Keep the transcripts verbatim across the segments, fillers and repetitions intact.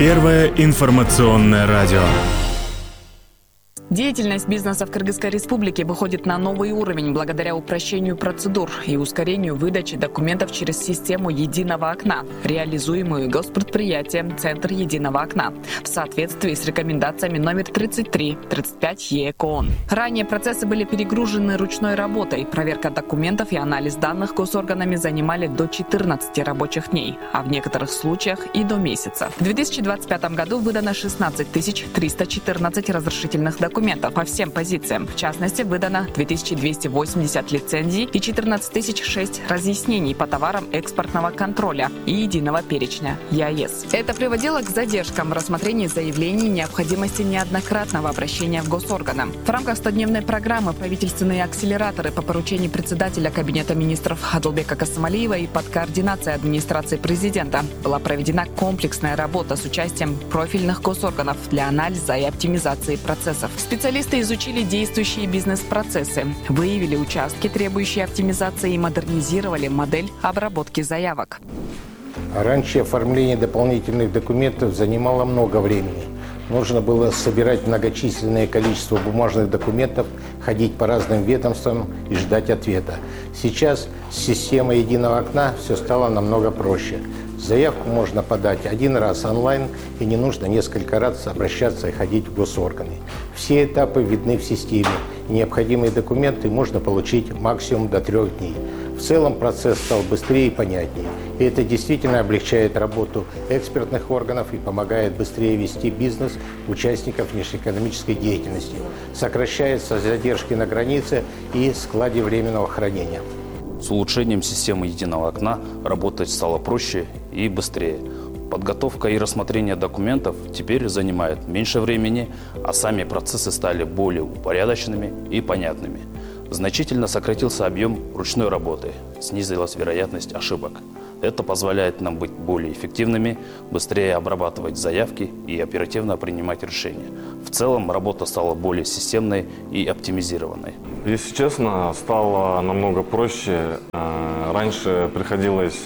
Первое информационное радио. Деятельность бизнеса в Кыргызской республике выходит на новый уровень благодаря упрощению процедур и ускорению выдачи документов через систему единого окна, реализуемую госпредприятием «Центр единого окна» в соответствии с рекомендациями номер тридцать три тридцать пять ЕКОН. Ранее процессы были перегружены ручной работой. Проверка документов и анализ данных госорганами занимали до четырнадцати рабочих дней, а в некоторых случаях и до месяца. В две тысячи двадцать пятом году выдано шестнадцать тысяч триста четырнадцать разрешительных документов по всем позициям. В частности, выдано две тысячи двести восемьдесят лицензий и четырнадцать тысяч шесть разъяснений по товарам экспортного контроля и единого перечня ЕАЭС. Это приводило к задержкам в рассмотрении заявлений и необходимости неоднократного обращения в госорганы. В рамках стодневной программы правительственные акселераторы по поручению председателя Кабинета министров Адылбека Касымалиева и под координацией администрации президента была проведена комплексная работа с участием профильных госорганов для анализа и оптимизации процессов. Специалисты изучили действующие бизнес-процессы, выявили участки, требующие оптимизации, и модернизировали модель обработки заявок. Раньше оформление дополнительных документов занимало много времени. Нужно было собирать многочисленное количество бумажных документов, ходить по разным ведомствам и ждать ответа. Сейчас с системой единого окна все стало намного проще. Заявку можно подать один раз онлайн, и не нужно несколько раз обращаться и ходить в госорганы. Все этапы видны в системе, и необходимые документы можно получить максимум до трех дней. В целом процесс стал быстрее и понятнее, и это действительно облегчает работу экспертных органов и помогает быстрее вести бизнес участников внешнеэкономической деятельности. Сокращаются задержки на границе и складе временного хранения. С улучшением системы единого окна работать стало проще и быстрее. Подготовка и рассмотрение документов теперь занимает меньше времени, а сами процессы стали более упорядоченными и понятными. Значительно сократился объем ручной работы, снизилась вероятность ошибок. Это позволяет нам быть более эффективными, быстрее обрабатывать заявки и оперативно принимать решения. В целом работа стала более системной и оптимизированной. Если честно, стало намного проще. Раньше приходилось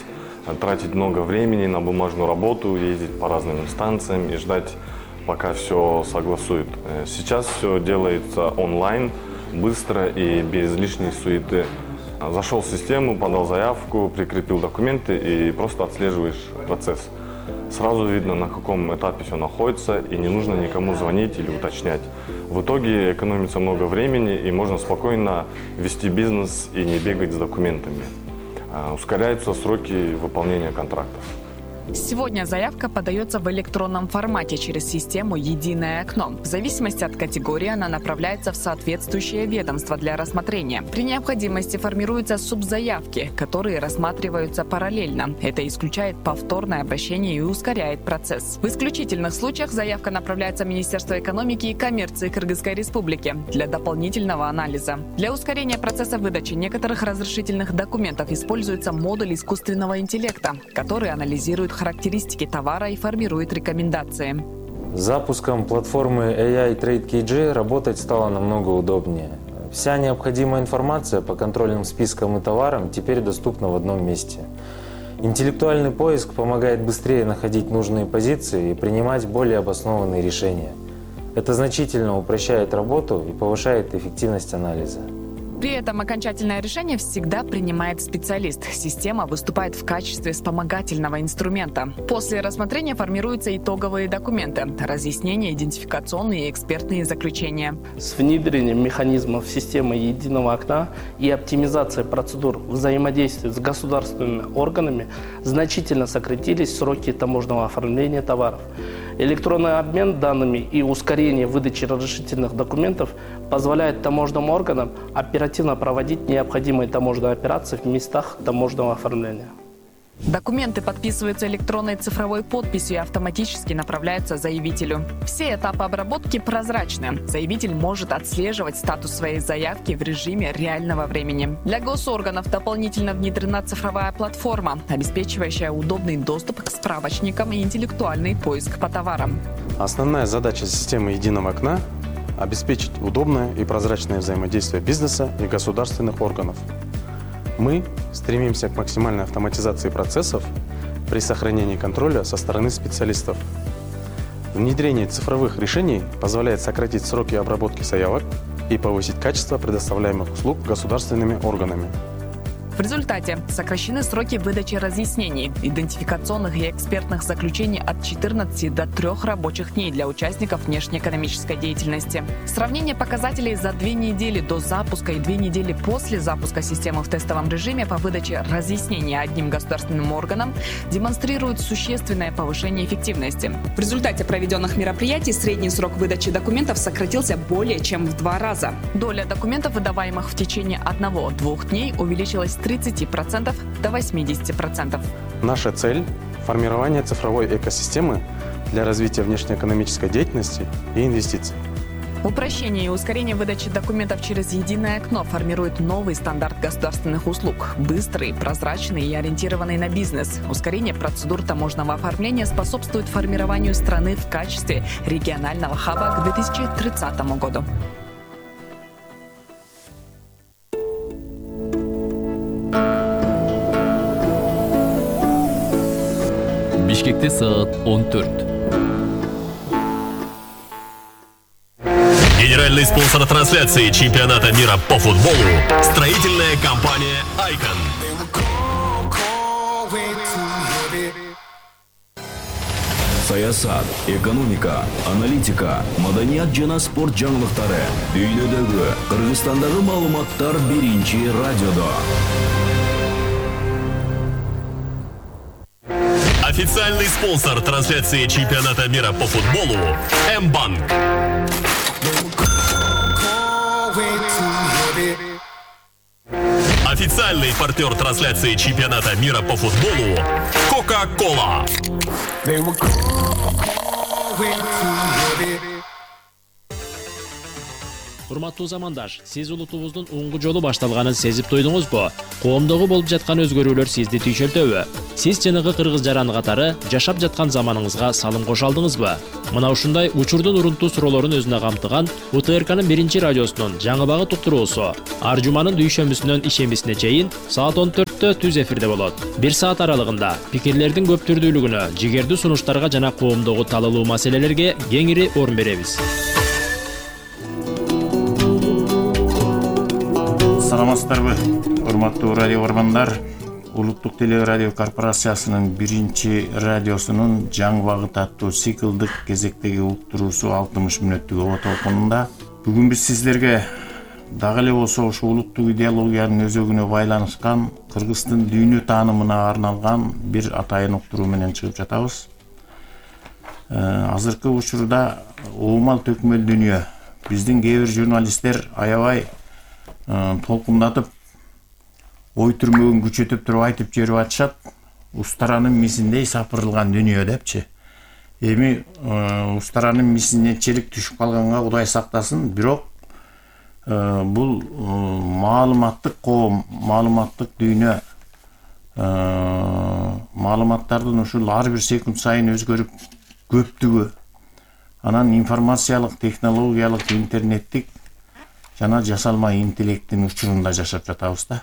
тратить много времени на бумажную работу, ездить по разным инстанциям и ждать, пока все согласуют. Сейчас все делается онлайн, быстро и без лишней суеты. Зашел в систему, подал заявку, прикрепил документы и просто отслеживаешь процесс. Сразу видно, на каком этапе все находится, и не нужно никому звонить или уточнять. В итоге экономится много времени, и можно спокойно вести бизнес и не бегать с документами. Ускоряются сроки выполнения контрактов. Сегодня заявка подается в электронном формате через систему «Единое окно». В зависимости от категории она направляется в соответствующее ведомство для рассмотрения. При необходимости формируются субзаявки, которые рассматриваются параллельно. Это исключает повторное обращение и ускоряет процесс. В исключительных случаях заявка направляется в Министерство экономики и коммерции Кыргызской республики для дополнительного анализа. Для ускорения процесса выдачи некоторых разрешительных документов используется модуль искусственного интеллекта, который анализирует характеристики товара и формирует рекомендации. С запуском платформы эй ай Trade кей джи работать стало намного удобнее. Вся необходимая информация по контрольным спискам и товарам теперь доступна в одном месте. Интеллектуальный поиск помогает быстрее находить нужные позиции и принимать более обоснованные решения. Это значительно упрощает работу и повышает эффективность анализа. При этом окончательное решение всегда принимает специалист. Система выступает в качестве вспомогательного инструмента. После рассмотрения формируются итоговые документы, разъяснения, идентификационные и экспертные заключения. С внедрением механизмов системы единого окна и оптимизацией процедур взаимодействия с государственными органами значительно сократились сроки таможенного оформления товаров. Электронный обмен данными и ускорение выдачи разрешительных документов позволяет таможенным органам оперативно проводить необходимые таможенные операции в местах таможенного оформления. Документы подписываются электронной цифровой подписью и автоматически направляются заявителю. Все этапы обработки прозрачны. Заявитель может отслеживать статус своей заявки в режиме реального времени. Для госорганов дополнительно внедрена цифровая платформа, обеспечивающая удобный доступ к справочникам и интеллектуальный поиск по товарам. Основная задача системы единого окна – обеспечить удобное и прозрачное взаимодействие бизнеса и государственных органов. Мы стремимся к максимальной автоматизации процессов при сохранении контроля со стороны специалистов. Внедрение цифровых решений позволяет сократить сроки обработки заявок и повысить качество предоставляемых услуг государственными органами. В результате сокращены сроки выдачи разъяснений, идентификационных и экспертных заключений от четырнадцати до трёх рабочих дней для участников внешнеэкономической деятельности. Сравнение показателей за две недели до запуска и две недели после запуска системы в тестовом режиме по выдаче разъяснений одним государственным органам демонстрирует существенное повышение эффективности. В результате проведенных мероприятий средний срок выдачи документов сократился более чем в два раза. Доля документов, выдаваемых в течение одного-двух дней, увеличилась с тридцати процентов до восьмидесяти процентов. Наша цель – формирование цифровой экосистемы для развития внешнеэкономической деятельности и инвестиций. Упрощение и ускорение выдачи документов через единое окно формирует новый стандарт государственных услуг. Быстрый, прозрачный и ориентированный на бизнес. Ускорение процедур таможенного оформления способствует формированию страны в качестве регионального хаба к две тысячи тридцатому году. Бишкекте саат он төрт. Генеральный спонсор трансляции чемпионата мира по футболу – строительная компания «Айкон». Саясат, экономика, аналитика, маданият жана спорт жаңылыктары. Дүйнөдөгү, Кыргызстандагы маалыматтар биринчи радиодо. Официальный спонсор трансляции чемпионата мира по футболу – М-банк. Официальный партнер трансляции чемпионата мира по футболу – Кока-Кола. Урматтуу замандаш, сиз улутубуздун оңгу жолу башталганын сезип туйдуңузбу? Коомдогу болуп жаткан өзгөрүүлөр сизди түйшөлтөбү? Сиз жанагы кыргыз жаран катары жашап жаткан заманыңызга салым кошо алдыңызбы? Мына ушундай учурдун урунтуу суроолорун өзүнө камтыган У Т Р К'нын биринчи радиосунун жаңы багыт уктуруусу ар жуманын дүйшөмбүсүнөн ишембисине чейин саат он төрттө түз эфирде болот. Бир саат аралыгында пикирлердин көп түрдүүлүгүнө, жигердүү сунуштарга жана коомдогу талалуу маселелерге кеңири орун беребиз. Саламатсыздарбы, урматтуу радио көргөндөр. Улуттук телерадио корпорациясынын биринчи радиосунун жаңы багыт аттуу циклдык кезектеги уктуруусу алтымыш мүнөттүк оба толкунунда бүгүн биз сиздерге дагы эле болсо ошо улуттук идеологиянын өзөгүнө байланышкан Кыргыздын дүйнө таанымына арналган бир атайын уктуруу менен чыгып жатабыз. Азыркы учурда уумал төкмөл дүйнө биздин кээ бир журналисттер аябай толкундатып, ой түрмөгүн күчөтүп туруп айтып жиберип атышат. Устаранын мисиндей сапырылган дүйнө депчи. Эми устаранын мисине челик түшүп калганга Кудай сактасын, бирок бул маалыматтык коом, маалыматтык дүйнө, маалыматтардын ушул ар бир секунд сайын өзгөрүп көптүгү, анан информациялык, технологиялык, интернеттик жана жасалма интеллекттин учурунда жашап жатабыз да.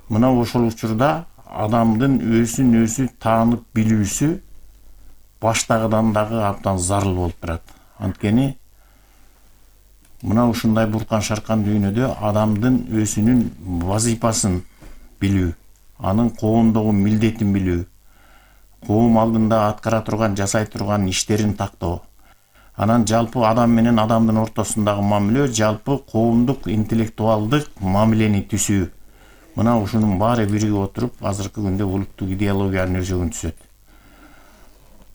Мына ошол учурда адамдын өзүн өзү таанып билүүсү баштагыдан дагы абдан зарыл болуп турат. Анткени мына ушундай буркан шаркан дүйнөдө адамдын өзүнүн вазифасын билүү, анын коомдогу милдетин билүү, коом алдында аткара турган, жасай турган иштерин тактоо, анан жалпы адам менен адамдын ортосундагы мамиле, жалпы коомдук интеллектуалдык мамилени түзүү. Мына ушунун баары биригип отуруп, азыркы күндө улуттук идеологиянын өзөгүн түзөт.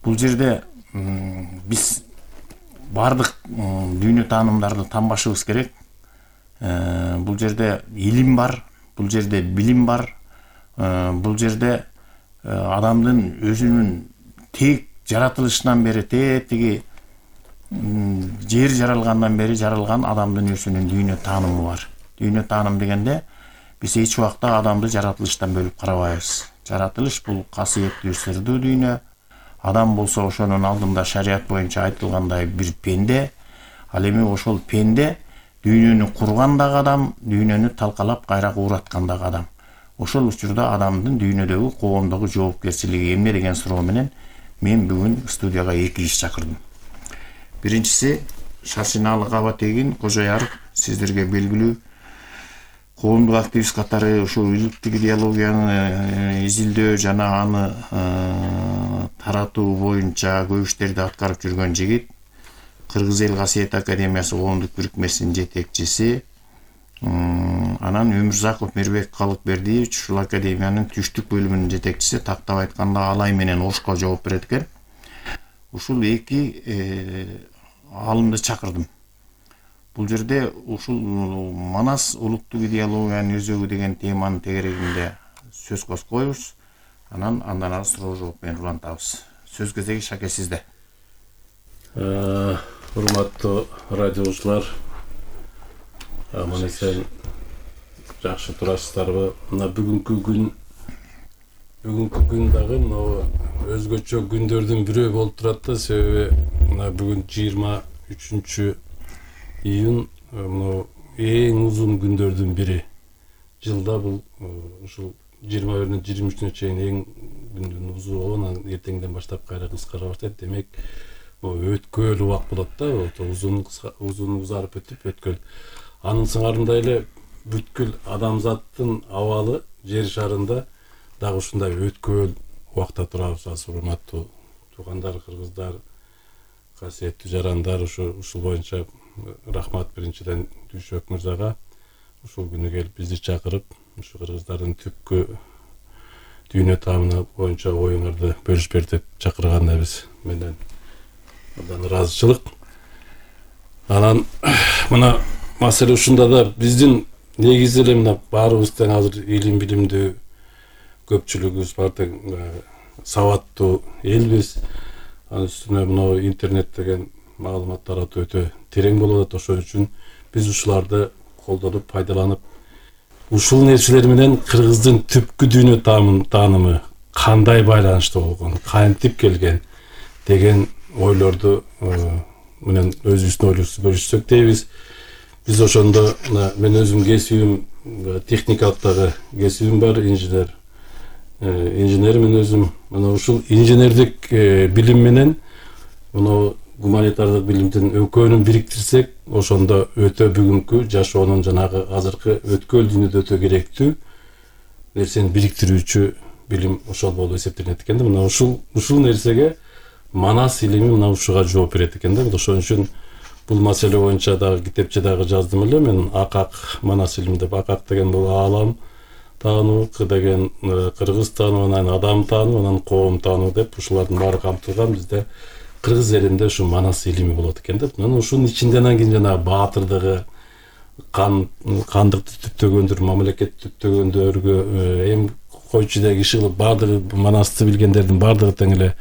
Бул жерде биз бардык дүйнө таанымдарды танбашыбыз керек. Бул жерде илим бар, бул жерде билим бар, бул жерде адамдын өзүнүн тек жаратылышынан бери, тетиги жер жаралгандан бери жаралган адамдын өзүнүн дүйнө таанымы бар. Дүйнө тааным дегенде биз эч убакта адамды жаратылыштан бөлүп карабайбыз. Жаратылыш бул касиеттүү сырдуу дүйнө. Адам болсо ошонун алдында шарият боюнча айтылгандай бир пенде. Ал эми ошол пенде дүйнөнү курган дагы адам, дүйнөнү талкалап кайра куураткан дагы адам. Ошол учурда адамдын дүйнөдөгү коомдогу жоопкерчилиги эмне деген суроо менен мен бүгүн студияга эки киши чакырдым. Биринчиси Шаршиналык аба тегин Кожой Арык сиздерге белгилүү коомдук активист катары ушул иликтик идеологияны изилдөө жана аны таратуу боюнча көп иштерди аткарып жүргөн жигит. Кыргыз эл касиет академиясы коомдук бирикмесинин жетекчиси. Анан Өмүрзаков Мирбек Калыкбердиевич ушул академиянын түштүк бөлүмүнүн жетекчиси, тактап айтканда Алай менен Ошко жооп берет экен. Ушул эки алымды чакырдым. Бул жерде ушул Манас улуттук идеологиянын өзөгү деген теманын тегерегинде сөз козгойбуз. Анан андан ары суроо жооп менен улантабыз. Сөз кезеги Шаке сизде. Урматтуу радиочулар, аман эсен жакшы турасыздарбы? Мына бүгүнкү күн бүгүнкү күн дагы мына өзгөчө күндөрдүн бирөө болуп турат да, себеби мына бүгүн жыйырма үчүнчү июнь, мына эң узун күндөрдүн бири. Жылда бул ушул жыйырма биринен жыйырма үчүнө чейин эң күндүн узуну, анан эртеңден баштап кайра кыскара баштайт. Демек, өткөл убак болот да, узун узун узарып өтүп өткөл. Анын сыңарында эле бүткүл адамзаттын абалы жер шарында дагы ушундай өткөл убакта турабыз. Урматтуу туугандар, кыргыздар, касиеттүү жарандар, ушу ушул боюнча рахмат биринчиден Дүйшөк мырзага ушул күнү келип бизди чакырып, ушу кыргыздардын түпкү дүйнө таамына боюнча оюңарды бөлүшүп бер деп чакырганда биз менен абдан ыраазычылык. Анан мына маселе ушунда да, биздин негизи эле мына баарыбыз тең азыр илим билимдүү көпчүлүгүбүз бар, тең сабаттуу элбиз. Анын үстүнө мына интернет деген маалымат таратуу өтө терең болуп атат. Ошон үчүн биз ушуларды колдонуп, пайдаланып, ушул нерселер менен кыргыздын түпкү дүйнө таанымы кандай байланыштуу болгон, кантип келген деген ойлорду менен өзүбүздүн ойлорубузду бөлүшсөк дейбиз. Биз ошондо мен өзүм кесибим техникалык дагы кесибим бар, инженер. Инженер мен өзүм мына ушул инженердик билим менен мына гуманитардык билимдин экөөнүн бириктирсек, ошондо өтө бүгүнкү жашоонун жанагы азыркы өткөл дүйнөдө өтө керектүү нерсени бириктирүүчү билим ошол болуп эсептелет экен да. Мына ушул ушул нерсеге Манас илими мына ушуга жооп берет экен да. Ошон үчүн бул маселе боюнча дагы китепче дагы жаздым эле мен. Акак Манас илими деп. Акак деген бул аалам таануу, К деген кыргыз таануу, анан адам таануу, анан коом таануу деп ушулардын баары камтылган. Бизде кыргыз элинде ушу Манас илими болот экен да. Анан ушунун ичинде анан кийин жанагы баатырдыгы, кан кандыкты түптөгөндөр, мамлекет түптөгөндөргө, эми койчудагы киши кылып баардыгы Манасты билгендердин баардыгы тең эле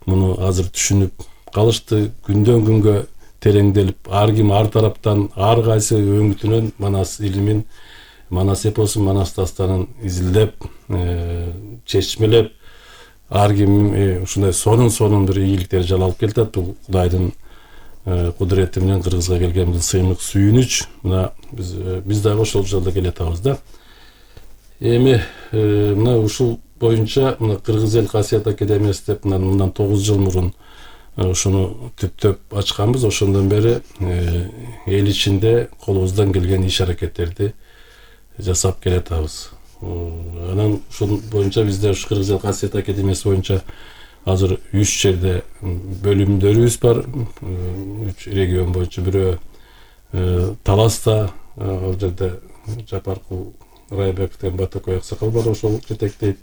муну азыр түшүнүп калышты. Күндөн күнгө тереңделип, ар ким ар тараптан, ар кайсы өңүтүнөн Манас илимин, Манас эпосун, Манас дастанын изилдеп, чечмелеп, ар ким ушундай сонун-сонун бир ийгиликтер жалалып келатат. Бул Кудайдын кудурети менен кыргызга келген бул сыймык сүйүнүч. Мына биз биз дагы ошол жолдо келатабыз да. Эми мына ушул боюнча мына Кыргыз эл касиет академиясы деп мындан тогуз жыл мурун ушуну түптөп ачканбыз. Ошондон бери эл ичинде колубуздан келген иш аракеттерди жасап келатабыз. Анан ушул боюнча бизде ушу Кыргыз эл касиет академиясы боюнча азыр үч жерде бөлүмдөрүбүз бар. Үч регион боюнча. Бирөө Таласта, ал жерде Жапаркул Райбек деген Батакой аксакал бар, ошол жетектейт.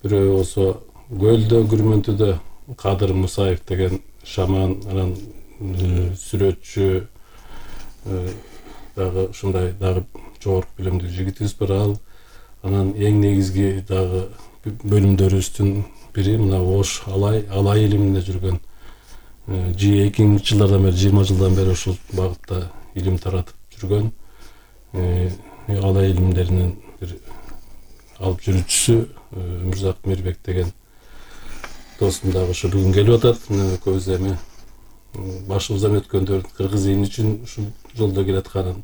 Бирөө болсо Көлдө, Күрмөнтүдө Кадыр Мусаев деген шаман, анан сүрөтчү дагы ушундай дагы жогорку билимдүү жигитибиз бар. Ал анан эң негизги дагы бөлүмдөрүбүздүн бири мына Ош Алай, Алай илиминде жүргөн эки миңинчи жылдардан бери, жыйырма жылдан бери ушул багытта илим таратып жүргөн Алай илимдеринин бир алып жүрүүчүсү Өмүрзак Мирбек деген досум дагы ошо бүгүн келип атат. Экөөбүз эми башыбыздан өткөндөр кыргыз эмне үчүн ушул жолдо келатканын,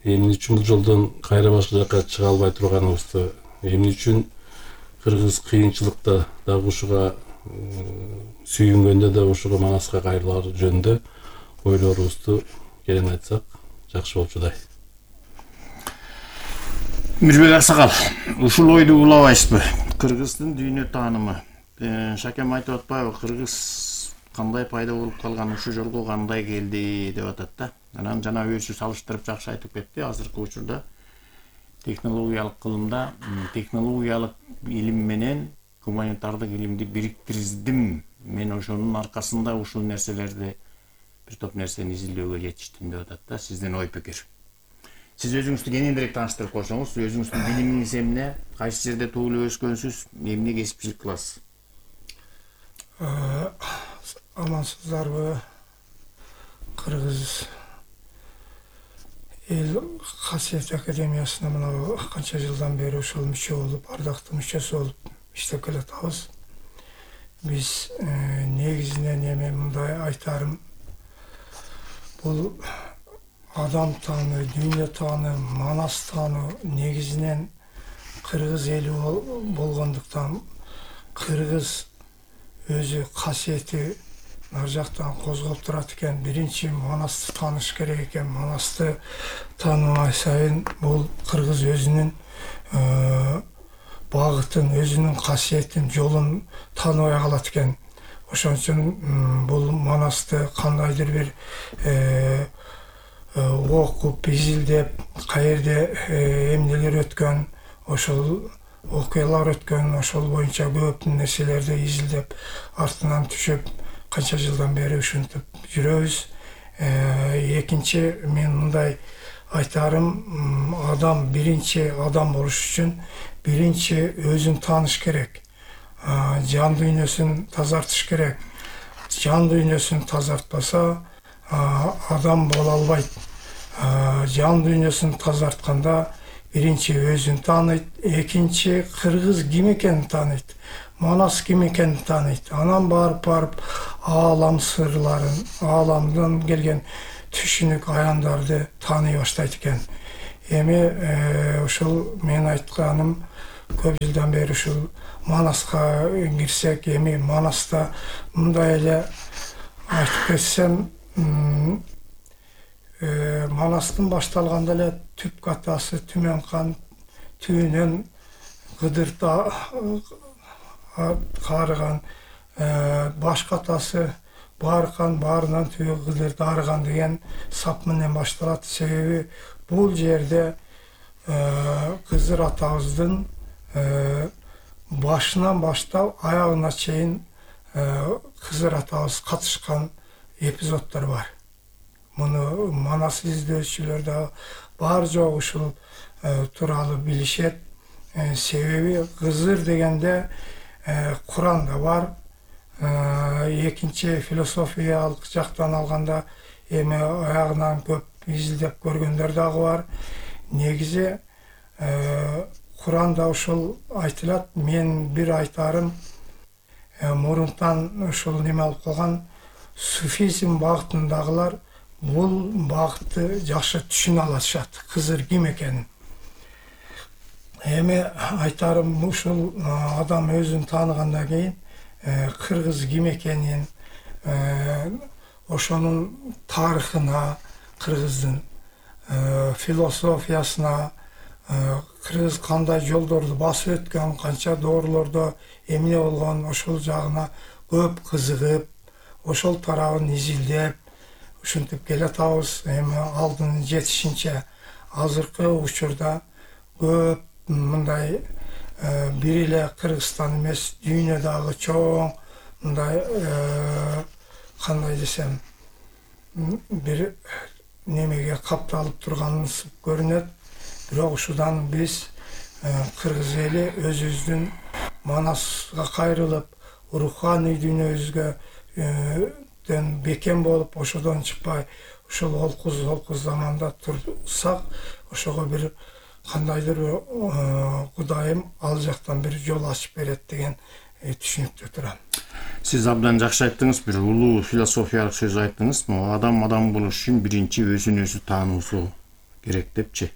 эмне үчүн бул жолдон кайра башка жака чыга албай турганыбызды, эмне үчүн кыргыз кыйынчылыкта дагы ушуга сүйүнгөндө да ушуга Манаска кайрылар жөнүндө ойлорубузду керен айтсак жакшы болчудай. Мирбек Аксакал, ушул ойду улабайсызбы? Кыргыздын дүйнө таанымы. Шакем айтып атпайбы, кыргыз кандай пайда болуп калган, ушул жолго кандай келди деп атат да. Анан жана өзү салыштырып жакшы айтып кетти. Азыркы учурда технологиялык кылымда технологиялык илим менен гуманитардык илимди бириктирдим. Мен ошонун аркасында ушул нерселерди бир топ нерсени изилдөөгө жетиштим деп атат да. Сиздин ой пикир. Сиз өзүңүздү кененирээк тааныштырып койсоңуз, өзүңүздүн билимиңиз эмне, кайсы жерде туулуп өскөнсүз, эмне кесипчилик кыласыз? Амансыздарбы? Кыргыз эл касиет академиясына мына канча жылдан бери ошол мүчө болуп, ардактуу мүчөсү болуп иштеп келатабыз. Биз негизинен эми мындай айтарым, бул адам тааны, дүйнө тааны, Манас тааны негизинен кыргыз эли болгондуктан кыргыз өзү касиети нар жактан козголуп турат экен. Биринчи Манасты тааныш керек экен. Манасты таанымай сайын бул кыргыз өзүнүн багытын, өзүнүн касиетин, жолун тааныбай калат экен. Ошон үчүн бул Манасты кандайдыр бир окуп, изилдеп, каерде эмнелер өткөн, ошол окуялар өткөн, ошол боюнча көп нерселерди изилдеп, артынан түшүп, канча жылдан бери ушинтип жүрөбүз. Экинчи, мен мындай айтарым, адам биринчи адам болуш үчүн биринчи өзүн тааныш керек. Жан дүйнөсүн тазартыш керек. Жан дүйнөсүн тазартпаса, адам боло албайт. Жан дүйнөсүн тазартканда биринчи өзүн тааныйт, экинчи кыргыз ким экенин тааныйт, Манас ким экенин тааныйт. Анан барып барып аалам сырларын, ааламдан келген түшүнүк аяндарды тааный баштайт экен. Эми ушул мен айтканым, көп жылдан бери ушул Манаска кирсек, эми Манаста мындай эле айтып кетсем, Манастын башталганда эле түп катасы Түмөн хан, түбүнөн Кыдыр каарыган, баш катасы Бааркан, баарынан түбү Кыдыр дарыган деген сап менен башталат. Себеби бул жерде Кызыр атабыздын башынан баштап аягына чейин Кызыр атабыз катышкан эпизоддор бар. Муну Манас изилдөөчүлөр да бар жок ушул тууралуу билишет. Себеби Кызыр дегенде Куранда бар. Экинчи философиялык жактан алганда эми аягынан көп изилдеп көргөндөр дагы бар. Негизи Куранда ушул айтылат. Мен бир айтарым, мурунтан ушул неме алып калган суфизм багытындагылар бул багытты жакшы түшүнө алышат, Кызыр ким экенин. Эми айтарым, ушул адам өзүн тааныгандан кийин кыргыз ким экенин, ошонун тарыхына, кыргыздын философиясына, кыргыз кандай жолдорду басып өткөн, канча доорлордо эмне болгон, ошол жагына көп кызыгып, ошол тарабын изилдеп, ушинтип келатабыз. Эми алдын жетишинче азыркы учурда көп мындай бир эле Кыргызстан эмес, дүйнөдөгү чоң мындай кандай десем, бир немеге капталып турганыбыз көрүнөт. Бирок ушудан биз кыргыз эли өзүбүздүн Манаска кайрылып, руханий дүйнөбүзгө бекем болуп, ошодон чыкпай, ушул олкуз олкуз заманда турсак, ошого бир кандайдыр Кудайым ал жактан бир жол ачып берет деген түшүнүктө турам. Сиз абдан жакшы айттыңыз, бир улуу философиялык сөз айттыңыз. Адам адам болуш үчүн биринчи өзүн өзү таануусу керек депчи.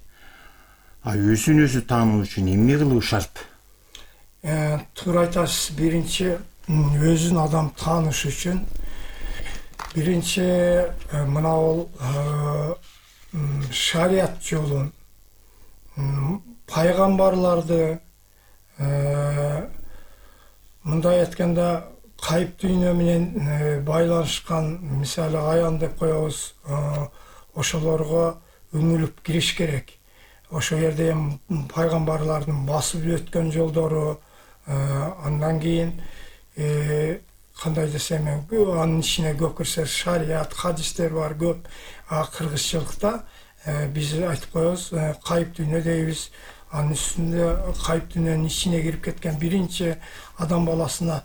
А өзүн өзү таануу үчүн эмне кылуу шарт? Туура айтасыз. Биринчи өзүн адам тааныш үчүн биринчи мына бул шарият жолун, пайгамбарларды, мындай айтканда кайып дүйнө менен байланышкан, мисалы аян деп коебуз, ошолорго үңүлүп кириш керек. Ошол жерде эми пайгамбарлардын басып өткөн жолдору, андан кийин кандай десем, анын ичине көп кирсе шарият, хадистер бар көп. А кыргызчылыкта биз айтып коебуз, кайып дүйнө дейбиз. Анын үстүндө кайып дүйнөнүн ичине кирип кеткен биринчи адам баласына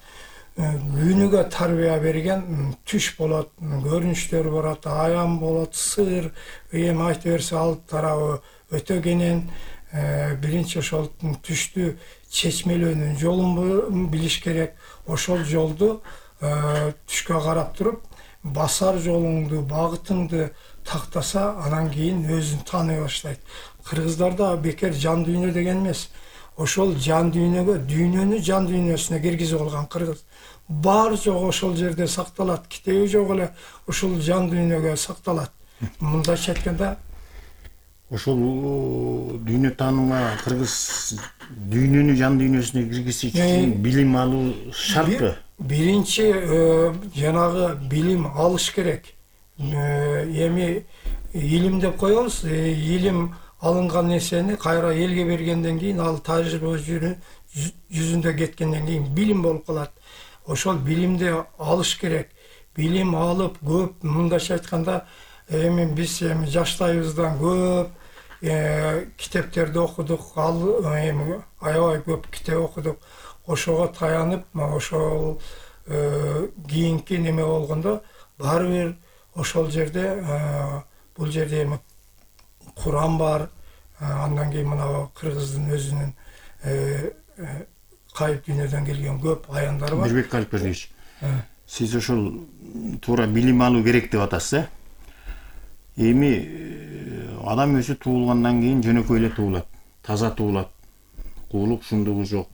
күнүгө тарбия берген түш болот, көрүнүштөр болот, аян болот, сыр, эми айта берсе ал тарабы өтө кенен. Биринчи ошол түштү чечмелөөнүн жолун билиш керек. Ошол жолду түшкө карап туруп, басар жолуңду, багытыңды тактаса, анан кийин өзүн тааный баштайт. Кыргыздарда бекер жан дүйнө деген эмес. Ошол жан дүйнөгө, дүйнөнү жан дүйнөсүнө киргизип алган кыргыз. Бар жок ошол жерде сакталат, китеби жок эле ошол жан дүйнөгө сакталат. Мындайча айтканда, ошол дүйнө таанымга кыргыз дүйнөнү жан дүйнөсүнө киргизиш үчүн билим алуу шартпы? Биринчи жанагы билим алыш керек. Эми илим деп коебуз, илим алынган нерсени кайра элге бергенден кийин ал тажрыйба жүзүндө кеткенден кийин билим болуп калат. Ошол билимди алыш керек. Билим алып көп, мындайча айтканда, эми биз эми жаштайыбыздан көп китептерди окудук, ал эми аябай көп китеп окудук. Ошого таянып, ошол кийинки неме болгондо баары бир ошол жерде, бул жерде эми Куран бар, андан кийин мына кыргыздын өзүнүн кайып дүйнөдөн келген көп аяндары бар. Мирбек Аликбердиевич, сиз ошол туура билим алуу керек деп атасыз, э? Эми адам өзү туулгандан кийин жөнөкөй эле туулат, таза туулат, куулук шумдугу жок,